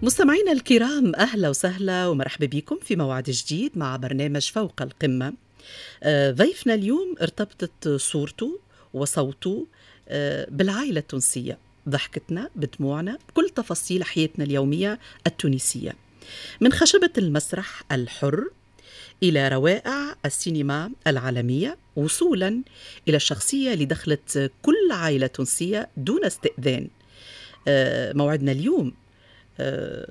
مستمعينا الكرام، أهلا وسهلا ومرحبا بكم في موعد جديد مع برنامج فوق القمة. ضيفنا اليوم ارتبطت صورته وصوته بالعائلة التونسية، ضحكتنا بدموعنا بكل تفاصيل حياتنا اليومية التونسية، من خشبة المسرح الحر إلى روائع السينما العالمية، وصولا إلى الشخصية اللي دخلت كل عائلة تونسية دون استئذان. موعدنا اليوم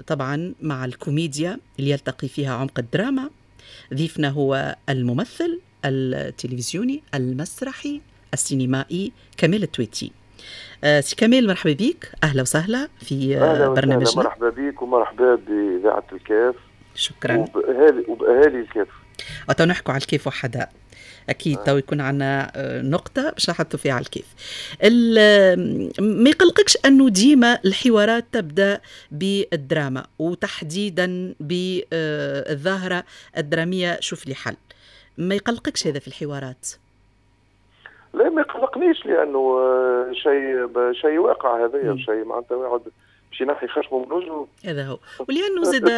طبعا مع الكوميديا اللي يلتقي فيها عمق الدراما. ضيفنا هو الممثل التلفزيوني المسرحي السينمائي كمال التويتي. سي كمال، مرحبا بك، أهلا وسهلا في أهلا برنامجنا. مرحبا بك ومرحبا بإذاعة الكاف. شكرا. وبأهالي الكاف. أتو نحكوا على الكاف وحدها أكيد. تو يكون عندنا نقطة باش نحطوا فيها على الكاف. ما يقلقكش أنه ديما الحوارات تبدأ بالدراما، وتحديدا بالظاهرة الدرامية شوف لي حل؟ ما يقلقكش هذا في الحوارات؟ لا، ما يقلقنيش، لأنه شيء واقع هذايا، شيء معناتها واحد باش ينحي خشمه من وجهه. هذا هو، ولانه زاد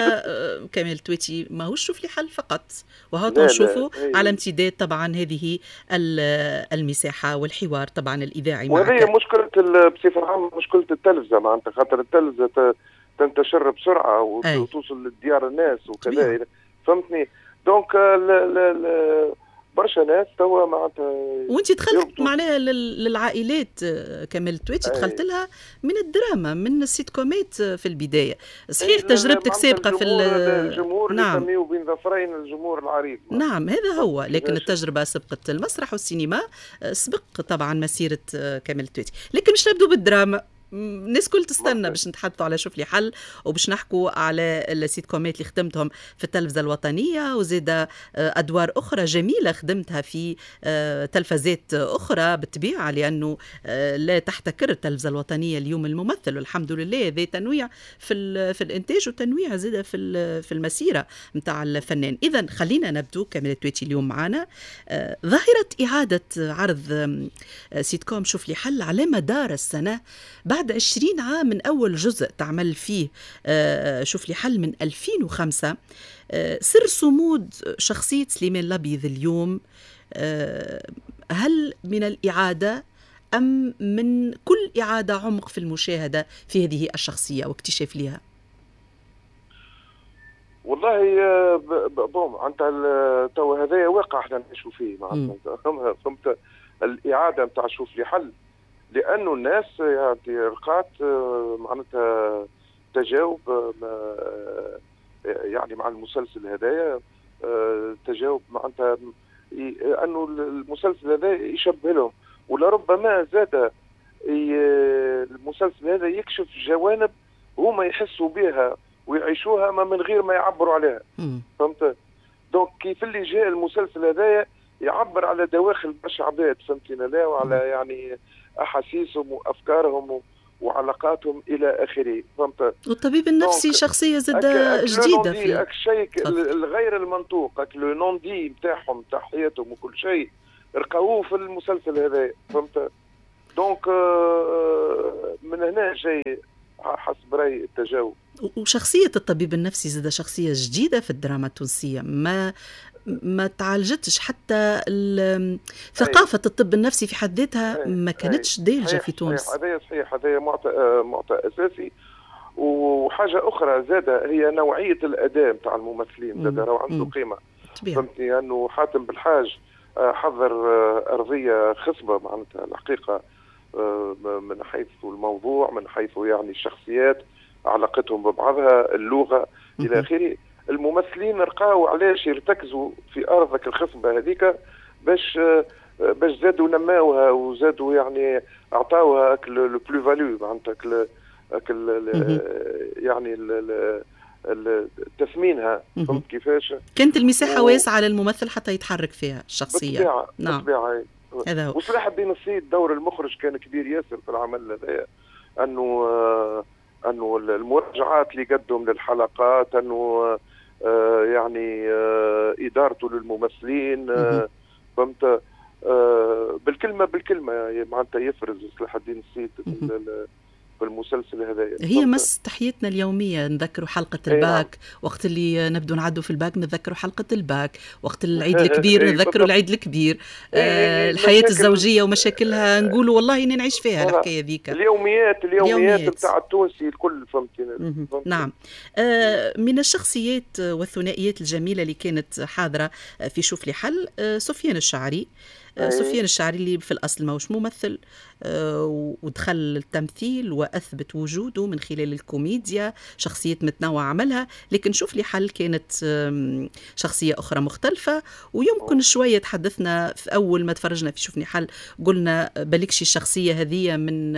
كمال تويتي ماهوش شوف لي حل فقط، وهو نشوفوا على امتداد طبعا هذه المساحة والحوار طبعا الاذاعي. وهذه مشكلة بصفة عامه، مشكلة التلفزة معناتها، خاطر التلفزة تنتشر بسرعة وتوصل لديار الناس وكذا، فهمتني؟ donc برشا ناس توا معناتها. وانت دخلت معناها للعائلات كمال التويتي، دخلت لها من الدراما، من السيتكومات في البدايه. صحيح تجربتك سابقه في الجمهور. نعم، اللي بين ظفرين الجمهور العريض. نعم، هذا هو، لكن التجربة سبقت المسرح والسينما، سبق طبعا مسيره كمال التويتي. لكن مش نبدو بالدراما، الناس كل تستنى باش نتحدثوا على شوف لي حل وباش نحكوا على السيتكومات اللي خدمتهم في التلفزة الوطنية، وزيد أدوار أخرى جميلة خدمتها في تلفزات أخرى بالطبيعة، لأنه لا تحتكر التلفزة الوطنية اليوم الممثل، والحمد لله ذي تنويع في الإنتاج وتنويع زاد في المسيرة نتاع الفنان. إذا خلينا نبدو، كمال التويتي اليوم معنا. ظاهرة إعادة عرض سيتكوم شوف لي حل على مدار السنة بعد 20 عام من أول جزء تعمل فيه شوف لي حل من 2005، سر صمود شخصية سليمان الأبيض اليوم هل من الإعادة أم من كل إعادة عمق في المشاهدة في هذه الشخصية واكتشاف لها؟ والله bon، انت تو هذايا واقع احنا نعيشوا فيه معناتها، فهمت؟ الإعادة نتاع شوف لي حل، لانه الناس يعني لقات معناتها تجاوب يعني مع المسلسل هذايا، تجاوب معناتها انه المسلسل هذا يشبه لهم، ولربما زاد المسلسل هذا يكشف جوانب هما يحسوا بها ويعيشوها ما من غير ما يعبروا عليها، فهمت؟ donc كيف اللي جاء المسلسل هذايا يعبر على دواخل برشا عباد، فهمتني؟ لا، وعلى يعني احاسيسهم وافكارهم وعلاقاتهم الى اخره، فهمت؟ والطبيب النفسي شخصية زاد جديدة في الشيء الغير المنطوق، le non-dit نتاعهم، تاع حياتهم وكل شيء رقاوه في المسلسل هذا، فهمت؟ donc من هنا جاي حسب رايي التجاوب. وشخصية الطبيب النفسي زاد شخصية جديدة في الدراما التونسية، ما تعالجتش حتى ثقافة الطب النفسي في حد ذاتها ما كانتش دارجة في تونس. هذا صحيح، هذا معطى أساسي. وحاجة أخرى زادة هي نوعية الأداء نتاع الممثلين، زادة راهو عنده قيمة، فهمتني؟ أنه حاتم بالحاج حضر أرضية خصبة معناتها الحقيقة، من حيث الموضوع، من حيث يعني الشخصيات، علاقتهم ببعضها، اللغة إلى آخره. الممثلين رقاو علاش يرتكزوا في ارضك الخصبة هذيك باش زادوا نماوها وزادوا يعني اعطاوها le plus-value معناتها، يعني تثمينها، فهمت كيفاش؟ كانت المساحة واسعة للممثل حتى يتحرك فيها الشخصية. بالطبيعة. نعم، بالطبيعة. هذا هو. وصلاح الدين السيد دور المخرج كان كبير ياسر في العمل هذايا، انه المراجعات اللي قدم للحلقات، انه يعني ادارته للممثلين، فهمت؟ بالكلمة بالكلمة معناتها يفرز صلاح الدين السيد في المسلسل هذايا. هي مس تحياتنا اليومية، نذكروا حلقة الباك وقت اللي نبدو نعدوا في الباك، نذكروا حلقة الباك وقت العيد الكبير، نذكروا العيد الكبير، الحياة الزوجية ومشاكلها نقولوا والله إني نعيش فيها الحكاية ذيك. اليوميات نتاع التونسي الكل، فهمتي. نعم. من الشخصيات والثنائيات الجميلة اللي كانت حاضرة في شوف لي حل سفيان الشعري. سفيان الشعري اللي في الأصل ماهوش ممثل، ودخل التمثيل وأثبت وجوده من خلال الكوميديا، شخصيات متنوعة عملها، لكن شوف لي حل كانت شخصية أخرى مختلفة. ويمكن شوية تحدثنا في أول ما تفرجنا في شوفني حل قلنا بلكشي الشخصية هذه من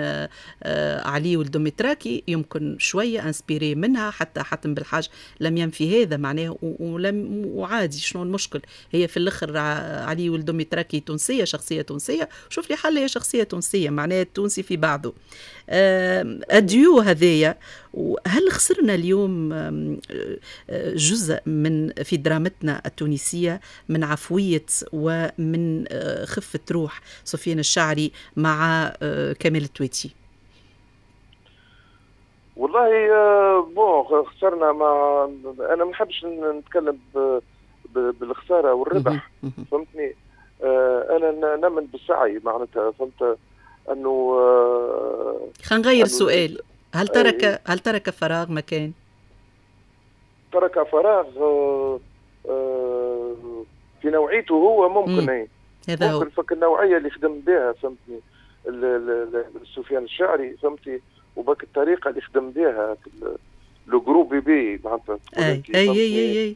علي والدومتراكي، يمكن شوية inspiré منها، حتى حاتم بالحاج لم ينفي هذا معناه، ولم وعادي شنو المشكل، هي في الآخر علي والدومتراكي تونسية، شخصية تونسية، شوف لي حل هي شخصية تونسية، معناه التونسي في بعضه. الديو هذايا، وهل خسرنا اليوم جزء من في درامتنا التونسية من عفوية ومن خفة روح سفيان الشعري مع كمال التواتي؟ والله bon خسرنا، ما انا ما نحبش نتكلم بالخسارة والربح، فهمتني. انا نمن بالسعي معناتها، فهمت انه خلينا نغير السؤال، هل ترك فراغ مكان؟ ترك فراغ في نوعيته هو ممكن، اي هذا ممكن فك النوعية اللي خدم بها، فهمتني، سفيان الشعري، فهمتي، وباك الطريقة اللي خدم بها le gros bébé معناتها. اي اي اي اي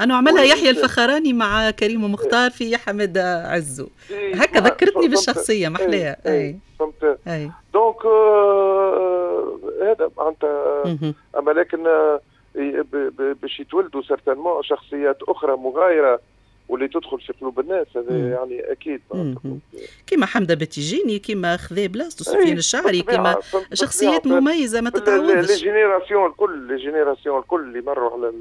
أنا عملها يحيى الفخراني مع كريم مختار في حمد عزو، هكا ذكرتني بالشخصية محلاها. أي فهمت. donc هذا معناتها، أما لكن باش يتولدوا certainement شخصيات أخرى مغايرة واللي تدخل في قلوب الناس، هذا يعني اكيد. كيما حمده بتيجيني، كيما خذا بلاصتو سفيان الشعري، كيما شخصيات مميزة ما تتعوضش. les générations الكل، les générations الكل اللي مروا على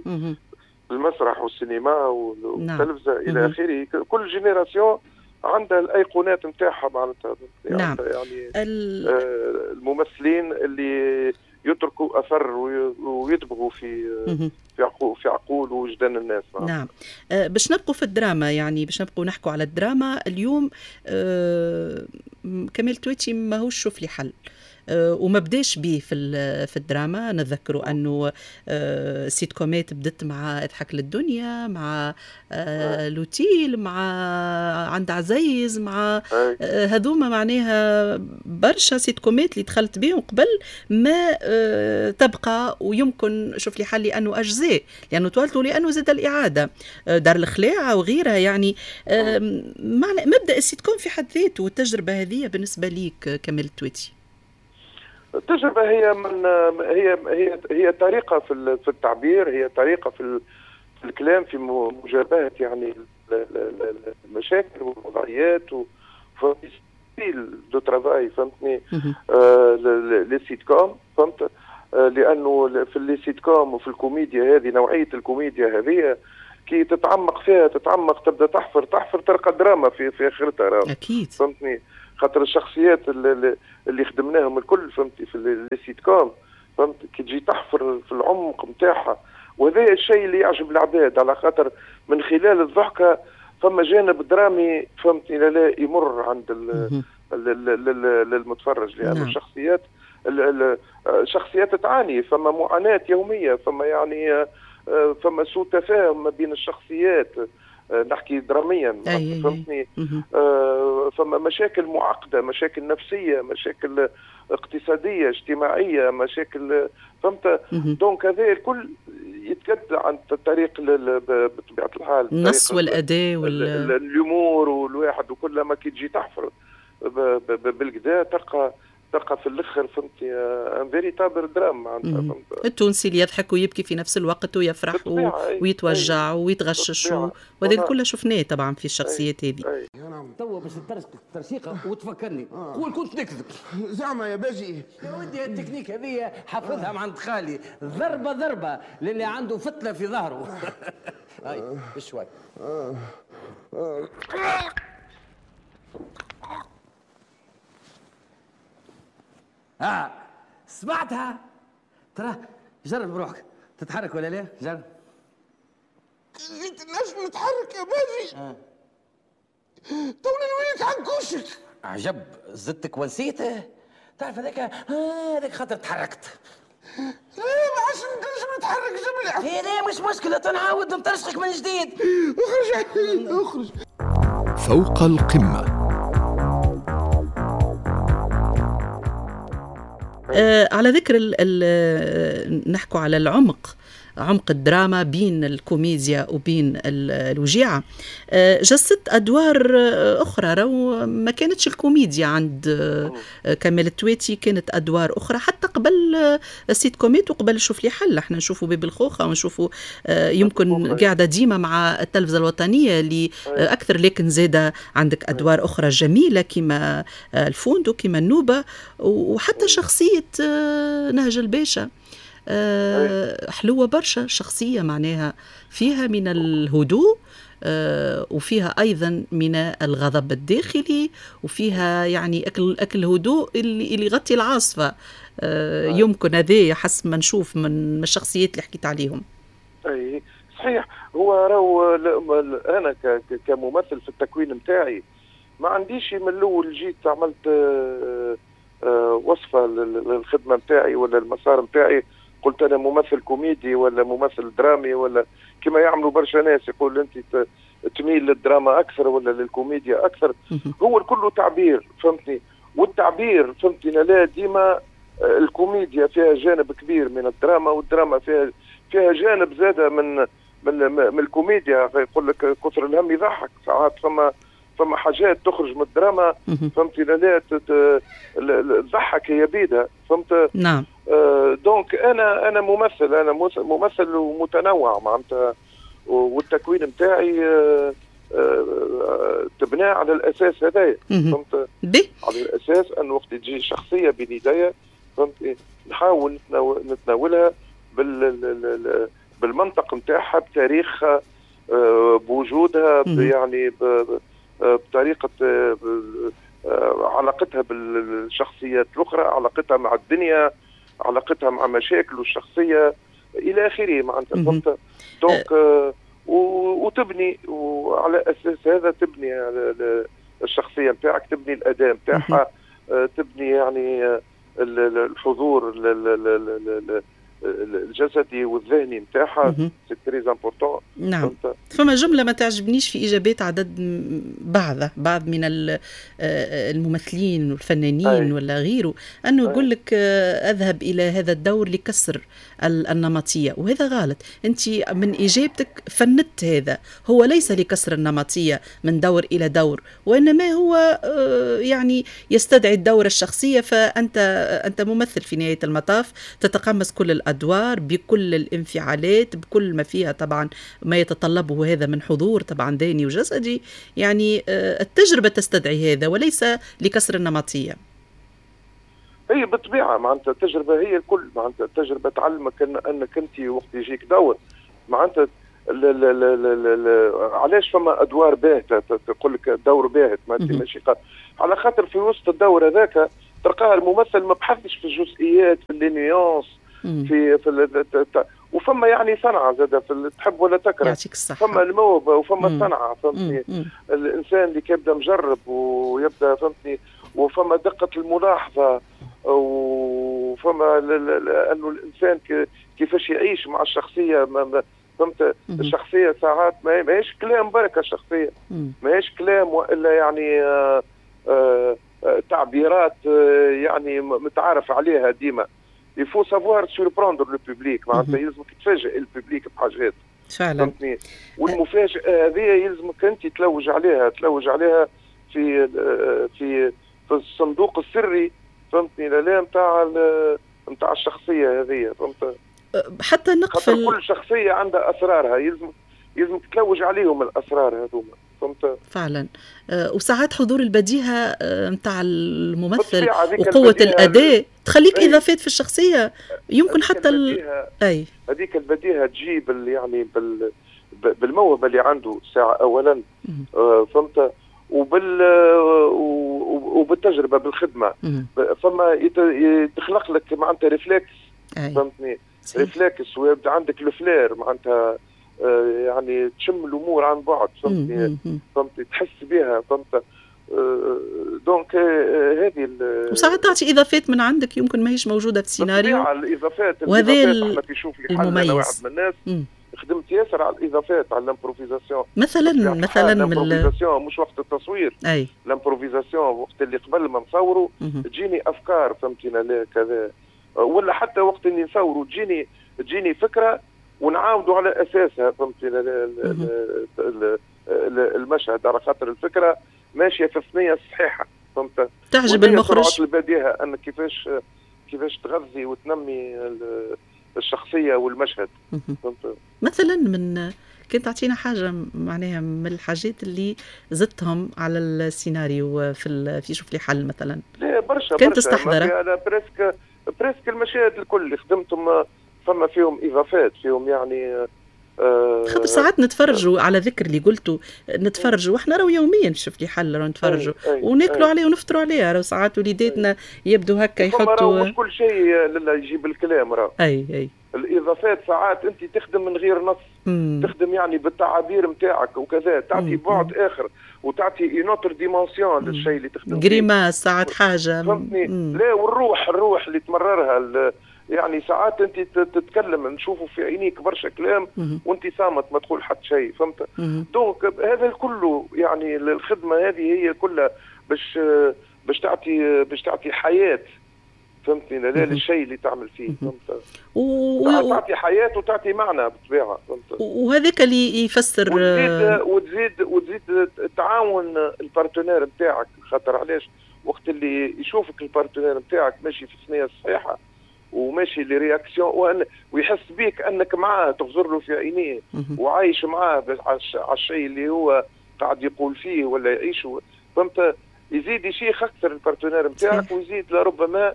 المسرح والسينما والتلفزه الى اخره، كل génération عندها الايقونات نتاعها معناتها. نعم. يعني الممثلين اللي يتركوا اثر ويطبغوا في في عقول وجدان الناس. نعم. باش نبقوا في الدراما، يعني باش نبقوا نحكوا على الدراما اليوم، كمال تويتي ماهوش شوف لي حل وما بداش به في الدراما. نذكروا انه سيت كومات بدت مع اضحك للدنيا، مع لوتيل، مع عند عزيز، مع هذوما معناها برشا سيت كومات اللي دخلت بهم قبل ما تبقى. ويمكن شوف لي حل لانه اجزاء، لانه توالتوا، لانه زاد الاعادة دار الخلاعه وغيرها. يعني معنى مبدا السيت كوم في حد ذاته والتجربة هذه بالنسبة ليك كمال التويتي؟ التجربة هي من هي هي هي طريقة في التعبير، هي طريقة في الكلام، في مجابهة يعني المشاكل والوضعيات، وفي style de travail، فهمتني، les sitcoms، فهمت، لأنه في les sitcoms وفي الكوميديا هذه، نوعية الكوميديا هذه كي تتعمق فيها، تتعمق، تبدا تحفر تحفر، تلقى دراما في آخرتها. أكيد. فهمتني، خاطر الشخصيات اللي خدمناهم الكل، فهمتي، في les sitcoms، فهمت، كي تجي تحفر في العمق نتاعها، وهذا الشيء اللي يعجب العباد، على خاطر من خلال الضحكة فما جانب درامي، فهمتني، لا يمر عند للمتفرج، لأن الشخصيات الشخصيات تعاني، فما معاناة يومية، فما يعني فما سوء تفاهم ما بين الشخصيات، نحكي دراميا، فهمتني، فما مشاكل معقدة، مشاكل نفسية، مشاكل اقتصادية، اجتماعية، مشاكل، فهمت. donc هذا الكل يتكد عن طريق بطبيعة الحال النص والأداء الأمور والواحد، وكل ما كي تجي تحفر بالكدا تلقى في الاخر، فهمتي، un véritable drame معناتها، فهمت. التونسي اللي يضحك ويبكي في نفس الوقت ويفرح ويتوجع ويتغشش، وهذا الكل شفناه طبعا في الشخصيات هذه. توا باش ترشيقه وتفكرني، قول كنت نكذب زعما يا باجي. يا ودي التكنيك هذه حافظها من عند خالي، ضربه ضربه للي عنده فتله في ظهره. هاي بشوي. سمعتها؟ ترى جرب بروحك، تتحرك ولا لا؟ جرب. جيت نجم نتحرك يا باجي. توني نوليك عنكوشك. عجب، زدتك ونسيته. تعرف هذاك هذاك خاطر تحركت. لا ما عادش نجم نتحرك جملة. إيه لا مش مشكلة، تنعاود نطرشقك من جديد. اخرج اخرج. فوق القمة. على ذكر نحكوا على العمق، عمق الدراما بين الكوميديا وبين الوجيعة. جسدت أدوار أخرى، رو ما كانتش الكوميديا عند كمال التواتي، كانت أدوار أخرى حتى قبل السيت كوميت وقبل شوف لي حل. احنا نشوفوا باب الخوخة ونشوفوا يمكن قاعدة ديما مع التلفزة الوطنية اللي أكثر، لكن زادة عندك أدوار أخرى جميلة كما الفوندو، كما النوبة، وحتى شخصية نهج الباشا حلوة برشا، شخصية معناها فيها من الهدوء وفيها أيضا من الغضب الداخلي، وفيها يعني أكل هدوء اللي يغطي العاصفة. يمكن هذا حسب ما نشوف من الشخصيات اللي حكيت عليهم. أي صحيح. هو راهو أنا كممثل في التكوين متاعي ما عنديش من الأول جيت عملت وصفة للخدمة متاعي ولا المسار متاعي، قلت أنا ممثل كوميدي ولا ممثل درامي، ولا كما يعملوا برشا ناس يقول أنت تميل للدراما أكثر ولا للكوميديا أكثر. هو الكل تعبير، فهمتني؟ والتعبير فهمتني لا ديما الكوميديا فيها جانب كبير من الدراما، والدراما فيها جانب زادة من من من الكوميديا. يقول لك كثر الهم يضحك، ساعات فما حاجات تخرج من الدراما، فهمتي؟ لا تضحك هي بيدها، فهمت؟ نعم. donc انا ممثل، انا ممثل ومتنوع معناتها، والتكوين نتاعي تبنى على الاساس هذايا، فهمت؟ على الاساس ان وقت تجي شخصية بين يديا، فهمت، نحاول نتناولها بالمنطق نتاعها، بتاريخها، بوجودها، يعني بطريقة علاقتها بالشخصيات الأخرى، علاقتها مع الدنيا، علاقتها مع مشاكله الشخصية إلى آخره معناتها، فهمت؟ donc وتبني، وعلى أساس هذا تبني الشخصية نتاعك، تبني الأداء نتاعها، تبني يعني الحضور الجسدي والذهني نتاعها، c'est très important. نعم. فما جملة ما تعجبنيش في اجابات عدد بعض من الممثلين والفنانين ولا غيره، انه يقول لك اذهب الى هذا الدور لكسر النمطية، وهذا غلط. انت من اجابتك فندت هذا، هو ليس لكسر النمطية من دور الى دور، وانما هو يعني يستدعي الدور الشخصية. فانت ممثل في نهاية المطاف، تتقمص كل الأدوار بكل الانفعالات، بكل ما فيها طبعا ما يتطلبه هذا من حضور طبعا ذهني وجسدي. يعني التجربة تستدعي هذا وليس لكسر النمطية. هي بالطبيعة معناتها التجربة هي الكل، معناتها التجربة تعلمك أنك أنت وقت يجيك دور معناتها علاش فما أدوار باهتة، تقول لك دور باهت ماشي، على خاطر في وسط الدور هذاك تلقاه الممثل ما بحثش في الجزئيات، في les nuances، في وفما يعني صنعه زاده، في تحب ولا تكره، يعطيك الصحة. فما الموهبة وفما الصنعة، فهمتني؟ الانسان اللي كيبدا مجرب ويبدا، فهمتني، وفما دقه الملاحظة، وفما انه الانسان كيفاش يعيش مع الشخصية، فهمت؟ الشخصية ساعات ماهيش كلام بركة، الشخصية ماهيش كلام والا يعني تعبيرات يعني متعارف عليها ديما. il faut savoir surprendre le public، معناتها يلزمك تفاجئ ال public بحاجات فعلا، فهمتني؟ والمفاجأة هذه يلزمك انت تلوج عليها، تلوج عليها في في في الصندوق السري، فهمتني؟ لا نتاع الشخصية هذه، فهمت؟ حتى نقفل، كل شخصية عندها أسرارها، يلزمك تلوج عليهم الأسرار هذوما، فهمت؟ فعلا. وساعات حضور البديهة نتاع الممثل وقوة الأداء تخليك إضافات في الشخصية، يمكن حتى أي هذيك البديهة تجيب يعني بالموهبة اللي عنده ساعة أولا، فهمت؟ وبالتجربه بالخدمة. فما يتخلق لك معناتها réflexe، فهمتني، réflexe، ويبدا عندك ال flair معناتها يعني تشم الامور عن بعد، فهمتني، فهمتني، تحس بها، فهمت. donc هذه وساعات تعطي اضافات من عندك يمكن ماهيش موجودة في السيناريو. الاضافات وهذا احنا في شوف لي حل، انا واحد من الناس خدمت ياسر على الاضافات، على l'improvisation مثلا من l'improvisation مش وقت التصوير، اي l'improvisation وقت اللي قبل ما نصوروا تجيني افكار، فهمتينا، لا كذا، ولا حتى وقت اللي نصوروا تجيني فكرة ونعاودوا على اساسها، فهمتينا، المشهد على خاطر الفكرة ماشية في الثنية الصحيحه، فهمت. تعجب المخرج سرعة البديهة ان كيفاش تغذي وتنمي الشخصية والمشهد، فهمت. مثلا من كنت تعطينا حاجة معناها من الحاجات اللي زدتهم على السيناريو في شوف لي حل مثلا؟ لا برشا، كنت تستحضرها؟ انا presque المشاهد الكل اللي خدمتهم فما فيهم اضافات، فيهم يعني خاطر ساعات نتفرجوا على ذكر اللي قلته، نتفرجوا واحنا راهو يوميا شوف لي حل راهو نتفرجوا وناكلوا عليه ونفطروا عليه، راهو ساعات وليداتنا يبدو هكا يحطوا، مش كل شيء يجيب الكلام راه. اي الاضافات ساعات انت تخدم من غير نص، تخدم يعني بالتعابير نتاعك وكذا، تعطي بعد اخر وتعطي une autre dimension للشيء اللي تخدم فيه. grimace ساعات حاجة، فهمتني. لا والروح، الروح اللي تمررها، يعني ساعات انت تتكلم نشوفوا في عينيك برشا كلام وانت صامت ما تقول حتى شيء، فهمت. donc هذا الكل يعني الخدمة هذه هي كلها باش تعطي حياة، فهمتني، لا للشيء اللي تعمل فيه، فهمت. تعطي حياة وتعطي معنى بالطبيعة، فهمت. وهذاك اللي يفسر وتزيد تعاون ال partenaire نتاعك، خاطر علاش وقت اللي يشوفك ال partenaire نتاعك ماشي في الثنية الصحيحة وماشي les réactions ويحس بيك انك معاه، تغزر له في عينيه وعايش معاه على الشيء اللي هو قاعد يقول فيه ولا يعيشه، فهمت. يزيد يشيخ اكثر ال partenaire نتاعك، ويزيد لربما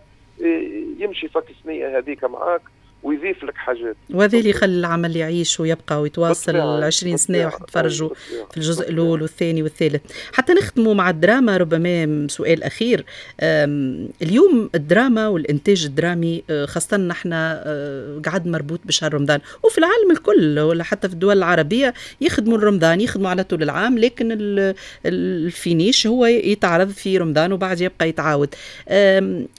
يمشي فك الثنية هذيك معاك ويضيف لك حاجات. وهذا اللي يخلي العمل يعيش ويبقى ويتواصل 20 سنة وتفرجوا في الجزء الاول والثاني والثالث. حتى نختموا مع الدراما، ربما سؤال اخير. اليوم الدراما والانتاج الدرامي خاصة نحن قعد مربوط بشهر رمضان، وفي العالم الكل ولا حتى في الدول العربية يخدموا رمضان، يخدموا على طول العام، لكن ال finish هو يتعرض في رمضان وبعد يبقى يتعاود.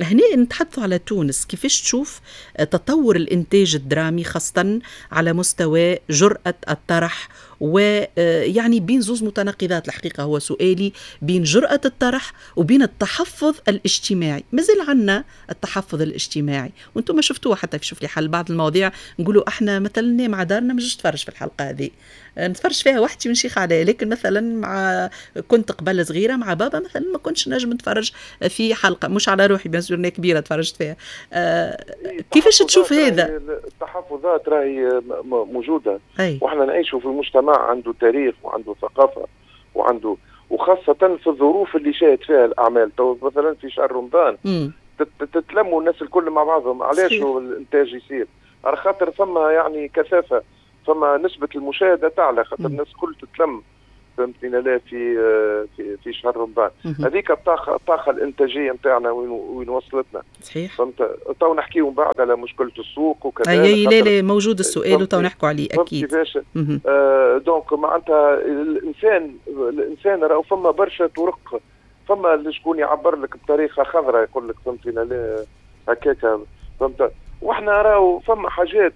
هنا نتحدثوا على تونس، كيفاش تشوف تطور الإنتاج الدرامي خاصة على مستوى جرأة الطرح، ويعني بين زوز متناقضات الحقيقة هو سؤالي، بين جرأة الطرح وبين التحفظ الاجتماعي. مازال عنا التحفظ الاجتماعي، وانتم ما شفتوه حتى في شوف لي حل بعض المواضيع نقولوا احنا مثلا مع دارنا مش نتفرج في الحلقة هذه، نتفرج فيها وحدي ونشيخ عليها، لكن مثلا مع كنت قبل صغيرة مع بابا مثلا ما كنتش نجم نتفرج في حلقة، مش على روحي bien sûr كبيرة تفرجت فيها. كيفاش تشوف هذا؟ التحفظات راهي موجودة، واحنا نعيشوا في المجتمع عنده تاريخ وعنده ثقافة وعنده، وخاصة في الظروف اللي شاهد فيها الاعمال. تو مثلا في شهر رمضان تتلموا الناس الكل مع بعضهم، علاش الانتاج يصير؟ على خاطر ثم يعني كثافة، فما نسبة المشاهدة تعلى، خاطر الناس الكل تتلم، فهمتني، لا في في في شهر رمضان. هذيك الطاقة الإنتاجية نتاعنا وين وصلتنا. صحيح. فهمت. تو نحكيو من بعد على مشكلة السوق وكذا. اي لا لا موجود السؤال وتو نحكوا عليه أكيد. كيفاش donc معناتها الإنسان راهو فما برشا طرق، فما اللي شكون يعبر لك بطريقة خضراء يقول لك فهمتني لا هكاك، فهمت. واحنا راهو فما حاجات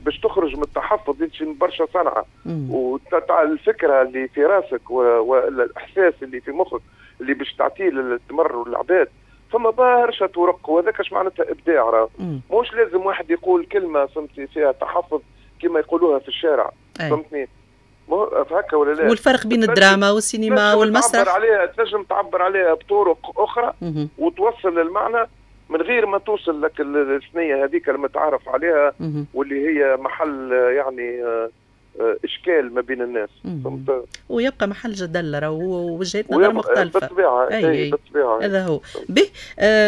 باش تخرج من التحفظ يمشي برشا صنعه، والفكرة اللي في راسك والاحساس اللي في مخك اللي باش تعطيه للتمر والعباد، فما برشا طرق، وهذاك اش معناتها ابداع. راه مش لازم واحد يقول كلمة فهمتي فيها تحفظ كما يقولوها في الشارع، فهمتني هكا ولا لا؟ والفرق بين الدراما والسينما والمسرح تعبر عليها، تنجم تعبر عليها بطرق اخرى وتوصل للمعنى من غير ما توصل لك الثنية هذيك المتعارف عليها واللي هي محل يعني اشكال ما بين الناس، فهمت؟ ويبقى محل جدل ووجهات نظر مختلفة. بالطبيعة، اي بالطبيعة هذا هو. به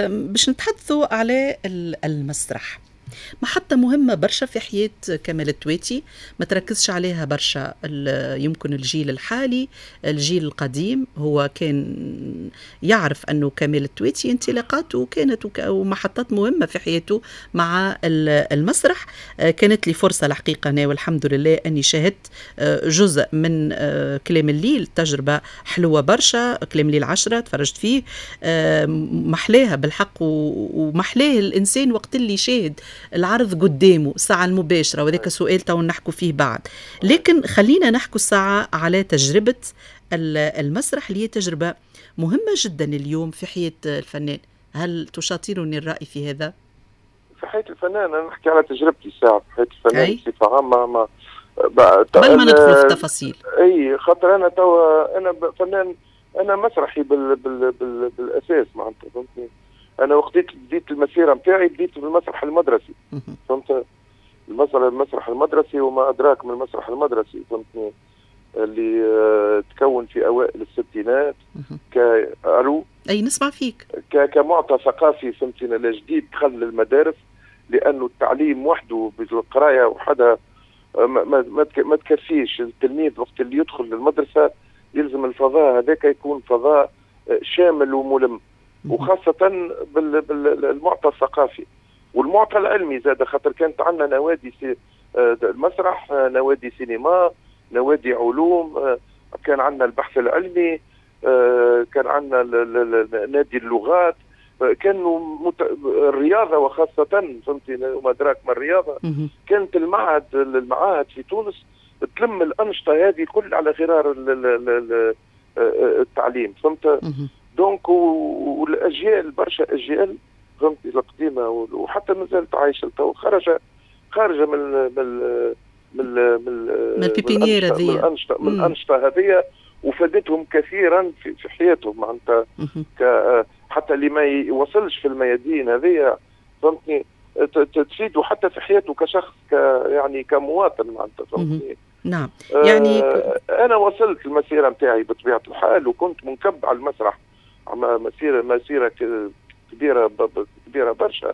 باش نتحدثوا على المسرح. محطة مهمة برشا في حياة كمال التواتي، ما تركزش عليها برشا يمكن الجيل الحالي، الجيل القديم هو كان يعرف أنه كمال التواتي انطلاقاته كانت ومحطات مهمة في حياته مع المسرح. كانت لي فرصة الحقيقة أنا والحمد لله أني شاهدت جزء من كلام الليل، تجربة حلوة برشا، كلام الليل 10 تفرجت فيه، محلاها بالحق، ومحلاه الإنسان وقت اللي شاهد العرض قدامه الساعة المباشرة، وذاك سؤال تو نحكوا فيه بعد. لكن خلينا نحكوا الساعة على تجربة المسرح اللي هي تجربة مهمة جدا اليوم في حياة الفنان. هل تشاطرني الرأي في هذا؟ في حياة الفنان أنا نحكي على تجربتي الساعة في حياة الفنان بصفة عامة، ما قبل ما ندخل في التفاصيل. اي خاطر انا توا انا فنان، انا مسرحي بال بال بال بالاساس معناتها، فهمتني؟ انا وقت بديت المسيرة نتاعي بديت بالمسرح المدرسي، فهمت؟ المسرح المدرسي وما ادراك من المسرح المدرسي، فهمتني؟ اللي تكون في اوائل الستينات كالو اي نسمع فيك كمعطى ثقافي، فهمتني؟ الجديد دخل للمدارس، لانه التعليم وحده بالقرايه وحدها ما تكفيش. التلميذ وقت اللي يدخل للمدرسة يلزم الفضاء هذاك يكون فضاء شامل وملم، وخاصة بالمعطى الثقافي والمعطى العلمي زاد، خاطر كانت عندنا نوادي المسرح، نوادي سينما، نوادي علوم، كان عندنا البحث العلمي، كان عندنا نادي اللغات، كانوا الرياضة وخاصة، فهمتي؟ وما ادراك ما الرياضة. كانت المعاهد في تونس تلم الانشطة هذه كل على غرار التعليم، فهمت؟ donc والاجيال، برشا اجيال فهمتي القديمة وحتى مازالت عايشه تو، خارجه من من من من ال pépinière هذه، من الانشطة هذه، وفادتهم كثيرا في حياتهم معناتها، حتى اللي ما يوصلش في الميادين هذه، فهمتني؟ تفيده حتى في حياته كشخص، يعني كمواطن معناتها، فهمتني؟ نعم. يعني انا وصلت المسيرة نتاعي بطبيعة الحال، وكنت منكب على المسرح، مسيره كبيرة كبيرة برشا،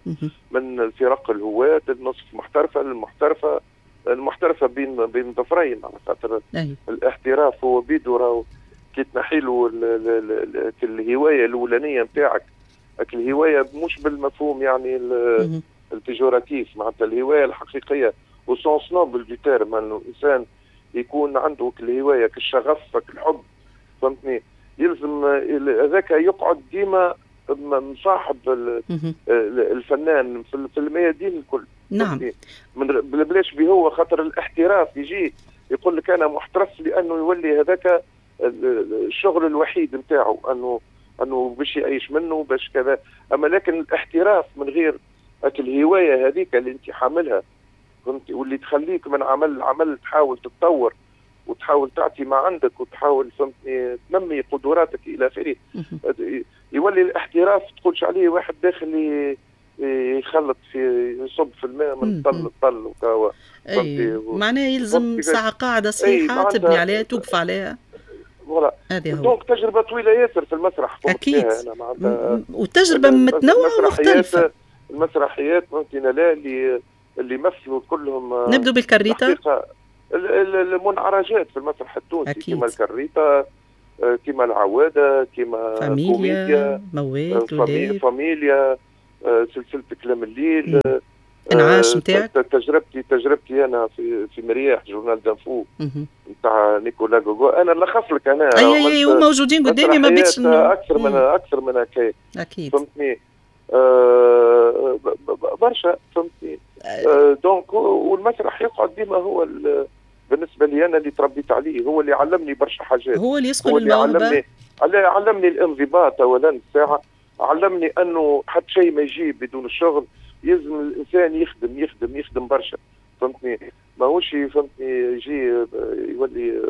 من الفرق الهواة النصف محترفه للمحترفه، المحترفه بين ظفرين، على خاطر الاحتراف هو بيدو راهو كي تنحيلو الهواية الاولانية نتاعك، الهواية مش بالمفهوم يعني ال péjoratif، معناتها الهواية الحقيقية au sens noble du terme، انه الانسان يكون عنده الهواية كالشغف كالحب، فهمتني؟ يلزم هذاك يقعد ديما مصاحب الفنان في الميادين الكل. نعم. من بلاش به هو، خاطر الاحتراف يجي يقول لك انا محترف، لانه يولي هذاك الشغل الوحيد نتاعو، انه باش يعيش منه باش كذا. اما لكن الاحتراف من غير الهواية هذيك اللي انت حاملها، فهمتي؟ واللي تخليك من عمل لعمل تحاول تتطور وتحاول تعطي ما عندك وتحاول، فهمتني، تنمي قدراتك الى اخره. يولي الاحتراف تقولش عليه واحد داخل يخلط في يصب في الماء من طل طل وكوا. اي معناه يلزم ساعة قاعدة صحيحه تبني عليها، توقف عليها. voilà. donc تجربه طويلة ياسر في المسرح. اكيد. وتجربه متنوعة ومختلفة. المسرحيات ممكن لا اللي مثلوا كلهم. نبدو بالكريته. المنعرجات في المسرح التونسي كما الكريته، كما العواده، كما فاميليا، موال، فاميليا، سلسلة كلام الليل، انعاش نتاعك. تجربتي انا في مرياح journal d'un fou نتاع نيكولا جوجو، انا نلخص لك انا. اي وموجودين قدامي، ما بيتش اكثر من هكا. اكيد. فهمتني؟ برشا، فهمتني؟ donc والمسرح يقعد ديما هو بالنسبة لي انا اللي تربيت عليه، هو اللي علمني برشا حاجات، هو اللي يسقل الموهبة، علمني الانضباط اولا الساعة، علمني انه حتى شيء ما يجي بدون الشغل، يلزم الانسان يخدم يخدم يخدم برشا، فهمتني؟ ماهوش فهمتني يجي يولي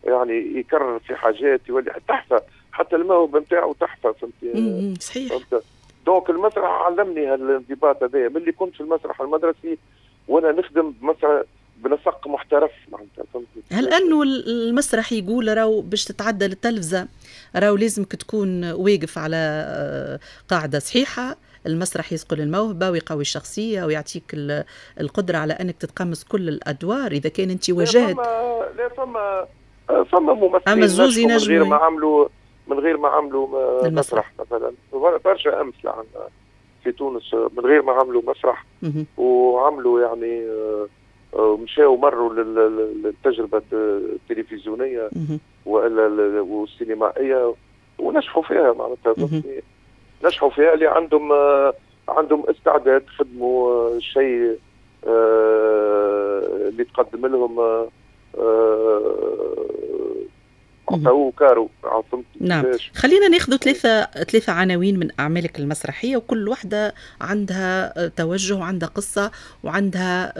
يعني يكرر في حاجات، يولي تحفة، حتى الموهبة نتاعو تحفة، فهمتني؟ صحيح. donc المسرح علمني هالانضباط هذايا ملي كنت في المسرح المدرسي وانا نخدم بمسرح بنسق محترف معناتها، فهمتني؟ هل انه المسرح يقول راهو باش تتعدى للتلفزه راهو لازمك تكون واقف على قاعدة صحيحه، المسرح يصقل الموهبة ويقوي الشخصية ويعطيك القدرة على أنك تتقمص كل الأدوار إذا كان أنت واجهت. لا فما ممثلين من غير ما عملوا مسرح مثلا، برشا أمثلة عندنا في تونس من غير ما عملوا مسرح وعملوا يعني مشاو مروا للتجربة التلفزيونية والسينمائية ونجحوا فيها، معناتها نجحوا فيها اللي عندهم استعداد خدموا الشيء اللي تقدم لهم عطاوه كارو. نعم، خلينا ناخذ ثلاثة عناوين من أعمالك المسرحية، وكل واحدة عندها توجه وعندها قصة وعندها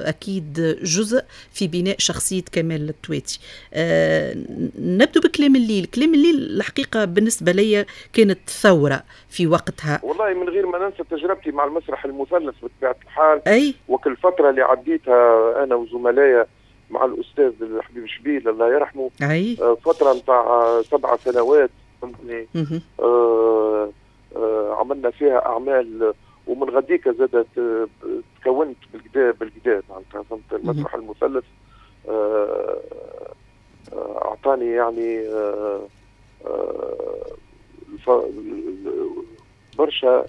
أكيد جزء في بناء شخصية كمال التواتي. نبدو بكلام الليل. كلام الليل الحقيقة بالنسبة لي كانت ثورة في وقتها. والله من غير ما ننسى تجربتي مع المسرح المثلث بطبيعة الحال، أي؟ وكل فترة اللي عديتها أنا وزملائي مع الأستاذ الحبيب شبيل الله يرحمه، أي. فترة نتاع 7 سنوات فهمتني، عملنا فيها أعمال، ومن غديك زادت تكونت بالكدا معناتها فهمت. المسرح المثلث أعطاني يعني برشا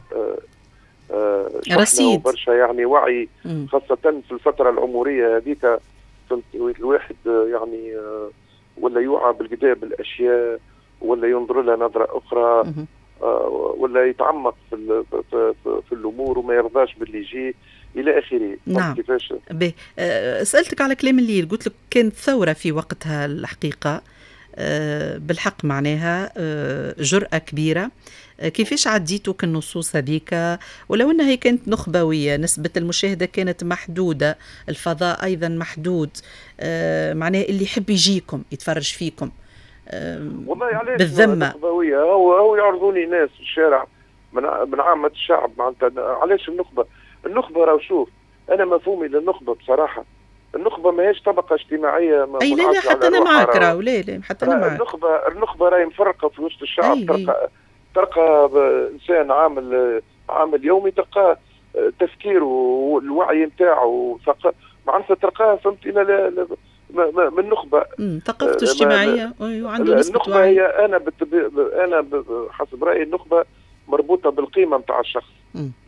رصيد، برشا يعني وعي، خاصة في الفترة العمرية هذيك الواحد يعني ولا يوعى بالكدا بالاشياء، ولا ينظر لها نظره اخرى، ولا يتعمق في الامور وما يرضاش باللي يجي الى اخره. نعم. كيفاش؟ سالتك على كلام الليل، قلت لك كانت ثورة في وقتها الحقيقة، بالحق معناها جرأة كبيرة. كيفاش عديتوا كالنصوص هذيك، ولو أنها هي كانت نخبوية، نسبة المشاهدة كانت محدودة، الفضاء أيضا محدود، معناها اللي يحب يجيكم يتفرج فيكم. والله علاش بالذمة نخبوية؟ هو يعرضوني ناس في الشارع من عامة الشعب معناتها. علاش النخبة؟ النخبة راهو شوف، أنا مفهومي للنخبة بصراحة، النخبة ماهيش طبقة اجتماعية. أي لا لا، حتى أنا معك راهو، لا لا حتى أنا معك. النخبة راهي مفرقة في وسط الشعب. تلقى إنسان عامل يومي، تلقاه تفكيره والوعي نتاعو معناتها تلقاه فهمت من نخبة، ثقافته اجتماعية وعنده نسبة النخبة وعي. هي أنا حسب رأيي النخبة مربوطة بالقيمة نتاع الشخص،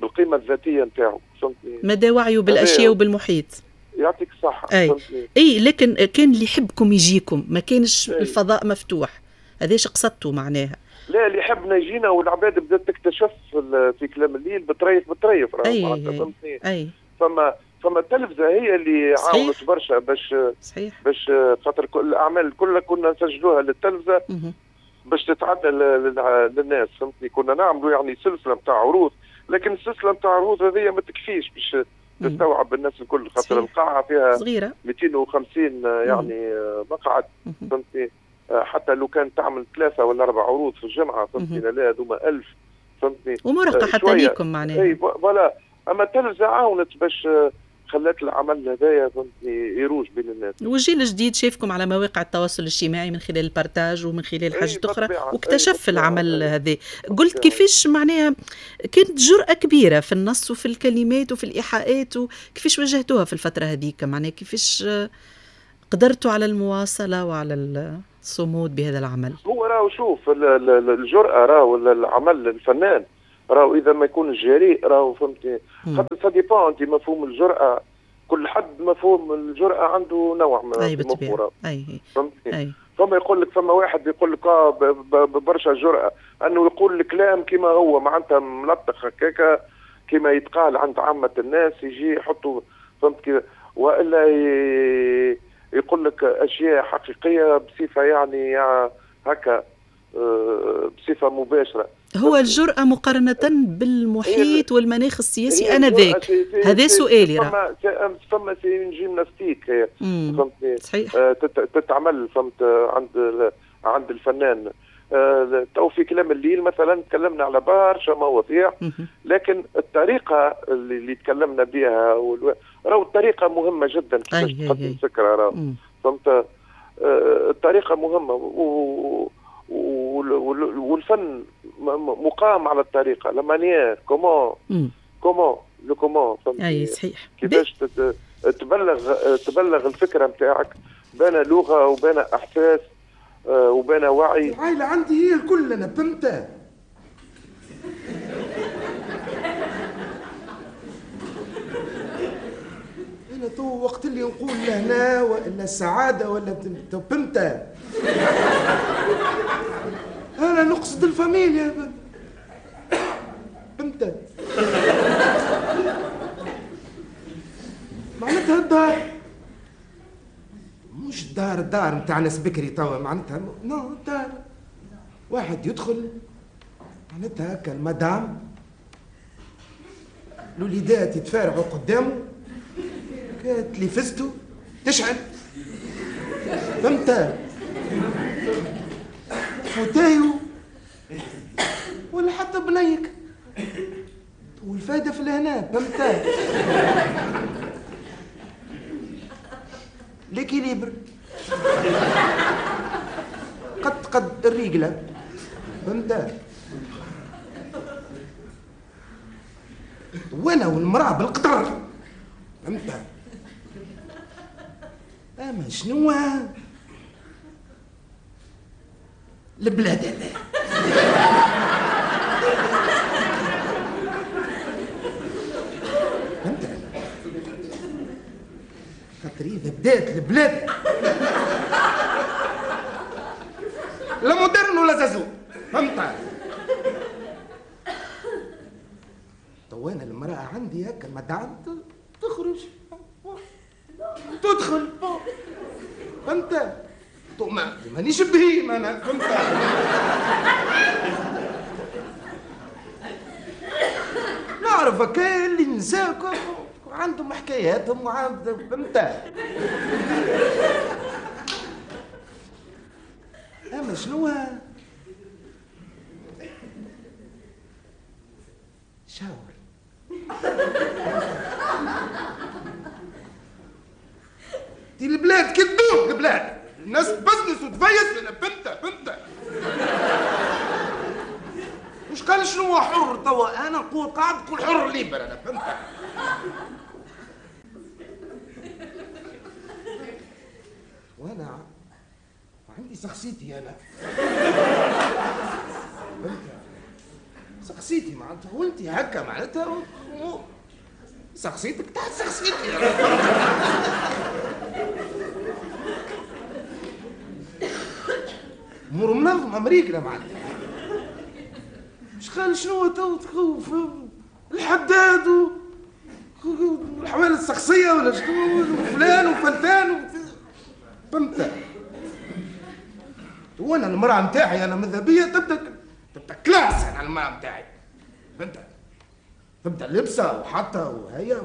بالقيمة الذاتية نتاعو، فهمتني، مدى وعيه بالأشياء وبالمحيط. يعطيك الصحة. أي. أي، لكن كان اللي يحبكم يجيكم، ما كانش الفضاء مفتوح، هذاش قصدته معناها. لا، اللي يحبنا يجينا، والعباد بدات تكتشف في كلام الليل بطريف. فهمتني. أي. فما التلفزة هي اللي عاونت برشا باش صحيح. باش خاطر الاعمال كلها كنا نسجلوها للتلفزه باش تتعدى للناس، فهمتني. كنا نعملوا يعني سلسلة نتاع عروض، لكن السلسلة نتاع عروض هذه ما تكفيش باش تستوعب الناس الكل، خاطر القاعة فيها صغيرة 250 يعني مقعد، فهمتني. حتى لو كان تعمل 3 ولا 4 عروض في الجمعة، فهمتني، لا هذوما 1000، فهمتني، ومرهقه حتى ليكم معناها. اي voilà. اما التلفزة عاونت باش خلات العمل هذايا فهمتني يروج بين الناس. والجيل الجديد شافكم على مواقع التواصل الاجتماعي من خلال ال partage ومن خلال حاجات اخرى، واكتشف العمل هذا. قلت كيفاش معناها كانت جرأة كبيرة في النص وفي الكلمات وفي الإيحاءات، وكيفاش واجهتوها في الفترة هذيك، معناها كيفاش قدرتوا على المواصلة وعلى الصمود بهذا العمل؟ هو راهو شوف الجرأة، راهو العمل الفنان راهو إذا ما يكون جريء راهو فهمتني، خاطر ça dépend انت مفهوم الجرأة، كل حد مفهوم الجرأة عنده نوع من المفهوم، فهمتني. فما يقول لك، فما واحد يقول لك برشا جرأة أنه يقول الكلام كما هو، معناتها ملطخ هكاكا كما يتقال عند عامة الناس، يجي يحطوا فهمت كيف، وإلا يقول لك أشياء حقيقية بصفة يعني هكا بصفة مباشرة. هو الجرأة مقارنة بالمحيط والمناخ السياسي آنذاك، هذا سؤالي. فما c'est gymnastique فهمتني، صحيح، تتعمل فهمت عند الفنان. تو في كلام الليل مثلا تكلمنا على برشا مواضيع، لكن الطريقة اللي تكلمنا بها راهو الطريقة مهمة جدا كيفاش تقدم فكرة، راهو فهمت، الطريقة مهمة والفن مقام على الطريقة، la manière comment comment le comment. اي صحيح، كيفاش تبلغ الفكرة نتاعك بين لغة وبين احساس وبين وعي. العائلة عندي هي الكل انا، فهمت؟ انا تو وقت اللي نقول لهنا والا السعادة ولا فهمت، انا نقصد الفاميليا، فهمت؟ معناتها الدار، مش الدار الدار نتاع ناس بكري توا، معناتها non الدار واحد يدخل معناتها هكا المدام الوليدات يتفارعوا قدامه، تلفزتو تشعل، فهمت؟ fauteuil ولا حتى بنيك، والفايدة في الهنا، فهمت؟ l'équilibre قد الرجلة، فهمت؟ وانا والمرأة بالقدر، فهمت؟ اما شنو البلاد هذا؟ فهمت؟ خاطر اذا بدات البلاد لا moderne ولا زازو، فهمت؟ تو انا المرأة عندي هكا المدام تخرج تدخل، فهمت؟ مانيش بهيم انا، فهمت؟ نعرف هكا اللي نساء عندهم حكاياتهم وعندهم، فهمت؟ اما شنو شاور دي البلاد كدوب، البلاد الناس تبزنس وتفيس، انا فهمت؟ مش قال شنو هو حر توا، انا نقول قاعد نقول حر libre انا، فهمت؟ وانا عندي شخصيتي انا، فهمت؟ شخصيتي معناتها، وانت هكا معناتها شخصيتك تحت شخصيتي انا، امور منظمة امريكا معناتها. مش قال شنو تو تخوف الحداد والحوالي الشخصية ولا شنو وفلان وفلتان، فهمت؟ وانا المراة نتاعي انا ماذا بيا تبدا classe، انا المراة نتاعي، فهمت؟ تبدا لبسه وحاطه وهي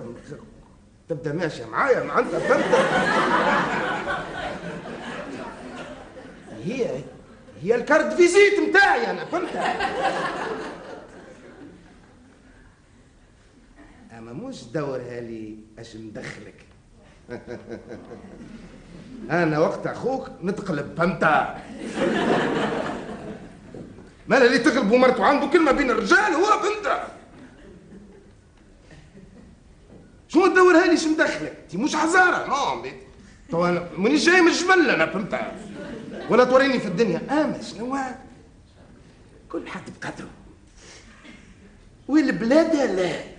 تبدا ماشية معايا معناتها، فهمت؟ هي ال carte visite نتاعي انا، فهمت؟ اما مش دورها لي اش ندخلك. انا وقت اخوك نتقلب، فهمت؟ مالا اللي تغلب ومرته عنده كلمة بين الرجال هو، فهمت؟ شنو تدورها لي اش مدخلك؟ انت مش حزاره، non تو انا مانيش جاي من الجبل انا، فهمت؟ ولا توريني في الدنيا. اما شنو كل حد بقدره، والبلاد لا.